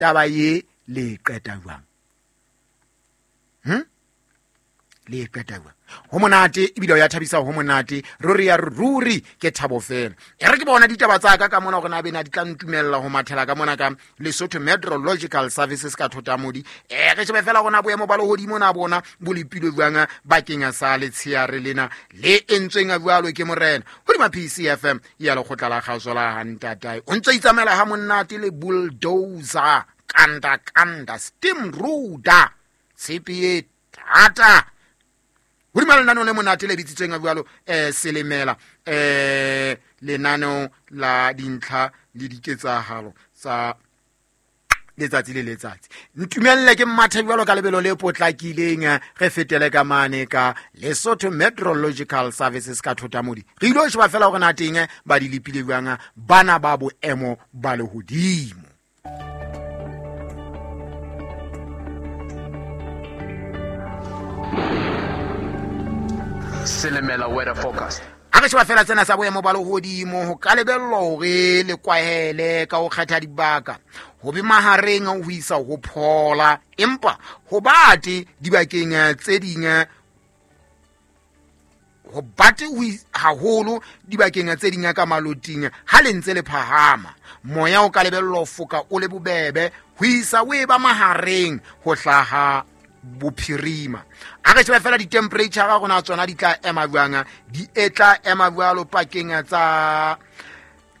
Taba ye le e qeta jwang? Le e qeta jwang? Ho monate ebile o ya thabisa, ho monate ruri ya ruri, ke thabo fela. E re ke bona ditaba tsa ka ka mona gore na bena di tla ntumella ho mathela ka mona ka Lesotho Meteorological Services ka Thotamodi. E re shebe fela gona boemo ba lehodimo na bona bo lepilwe jwang bakeng sa letsheare lena le entsweng jwalo ke morena hodima PCFM ya lekgotla la kgaso la hantatae. O ntse itsamaela ha monate le bulldozer, kanda kanda, steam ruda, tshepe e thata hodima lenaneo le monate le bitsitsweng jwalo selemela, lenaneo la dintlha le diketsahalo tsa letsatsi le letsatsi. Ntumelle ke mmathe jwalo ka lebelo le potlakileng, re fetele ka mane ka Lesotho Meteorological Services ka Thotamodi. Re ilo sheba fela hore na teng ba di lepile jwang bana ba boemo ba lehodimo. Selemela weather forecast. A re sheba fela tsena tsa boemo ba lehodimo, ho ka lebellwa hore le kwahele ka ho kgetha dibaka, ho be mahareng ho isa ho phola, empa ho bate dibakeng tse ding, ho bate haholo dibakeng tse ding ka maloting ha le ntse le phahama. Moya o ka lebellwa ho foka o le bobebe ho isa o e ba mahareng ho hlaha bophirima. A re shebe fela di-temperature ga rona tsona di tla ema jwang, di e tla ema jwalo pakeng tsa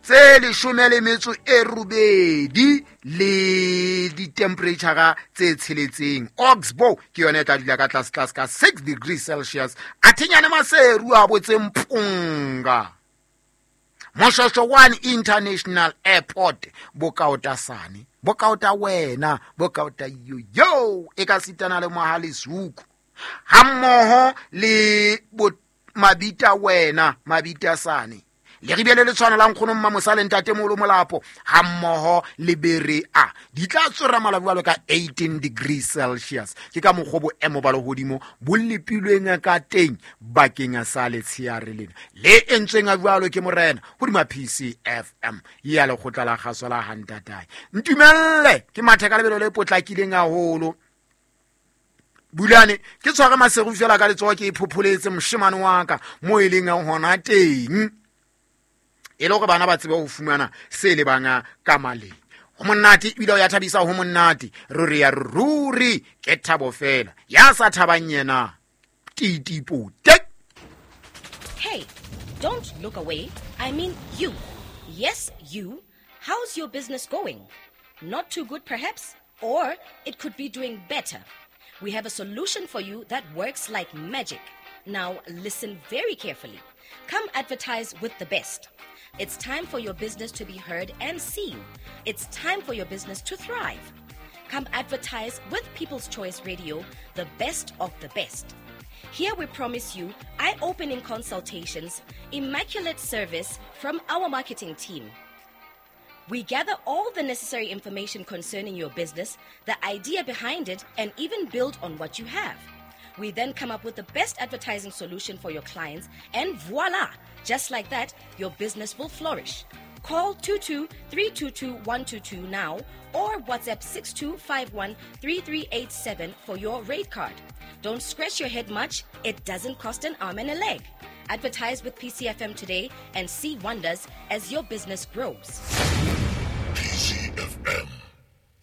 tse 18 le di-temperature tse 6. Oxbow ke yone e tla dula ka tlase tlase ka 6 degrees Celsius. A thinyane Maseru a botse Mpunga. Moshosho 1 International Airport, bokaotasane, bokaota wena, bokaota yo e ka sitana le Mohalesuku hammoho le mabita wena, mabita sane, leribele le tshwana la nkgono Mmamosa le ntatemoholo Molapo hammoho le Berea di tla tswera mala jwalo ka 18 degrees Celsius. Ke ka mokgwa boemo ba lehodimo bo lepilweng ka teng bakeng sa letsheare lena le entsweng jwalo ke morena hodima PCFM ya lekgotla la kgaso la hantatae. Ntumelle ke mathe ka lebelo le potlakileng haholo. Bulane ke tshware Maseru fela ka letsoho, ke iphopholetse moshemane wa ka mo e leng hona teng, e le hore bana ba tsebe ho fumana se lebang ka maleng. Ho monate ebile o ya thabisa, ho monate ruri ya ruri, ke thabo fela. Ya sa thabang yena titipote. Hey, don't look away. I mean you. Yes, you. How's your business going? Not too good perhaps? Or it could be doing better. We have a solution for you that works like magic. Now listen very carefully. Come advertise with the best. It's time for your business to be heard and seen. It's time for your business to thrive. Come advertise with People's Choice Radio, the best of the best. Here we promise you eye-opening consultations, immaculate service from our marketing team. We gather all the necessary information concerning your business, the idea behind it, and even build on what you have. We then come up with the best advertising solution for your clients, and voila! Just like that, your business will flourish. Call 22-322-122 now or WhatsApp 6251-3387 for your rate card. Don't scratch your head much. It doesn't cost an arm and a leg. Advertise with PCFM today and see wonders as your business grows. PCFM,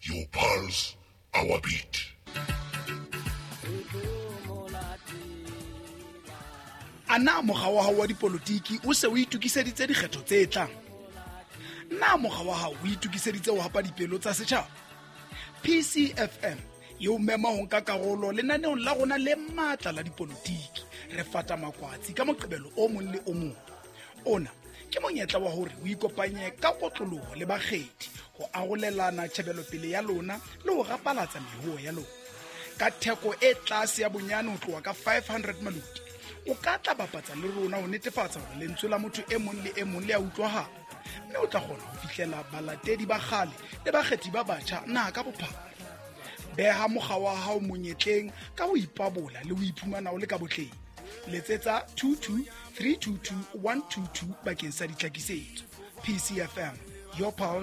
your pulse, our beat. A na mokga wa hao wa dipolotiki o se o itokiseditse dikgetho tse tlang? Na mokga wa hao o itokiseditse ho hapa dipelo tsa setjhaba? PCFM e o mema ho nka karolo lenaneong la rona le matla la dipolotiki. Re fata makwatsi ka Moqebelo o mong le o mong. Ona ke monyetla wa hore o ikopanye ka kotloloho le bakgethi ho arolelana tjhebelopele ya lona le ho rapalatsa mehuo ya lona ka theko e tlase ya bonyane ho tloha ka 500 maloti. O ka tla bapatsa le rona ho netefatsa hore lentswe la motho e mong le e mong le a utlwahala, mme o tla kgona ho fihlela balatedi ba kgale le bakgethi ba batjha naha ka bophara. Beha mokga wa hao monyetleng ka ho ipabola le ho iphumana o le ka botleng. Letsetsa 22 322 122 bakeng sa ditlhakisetso. PCFM, your pulse.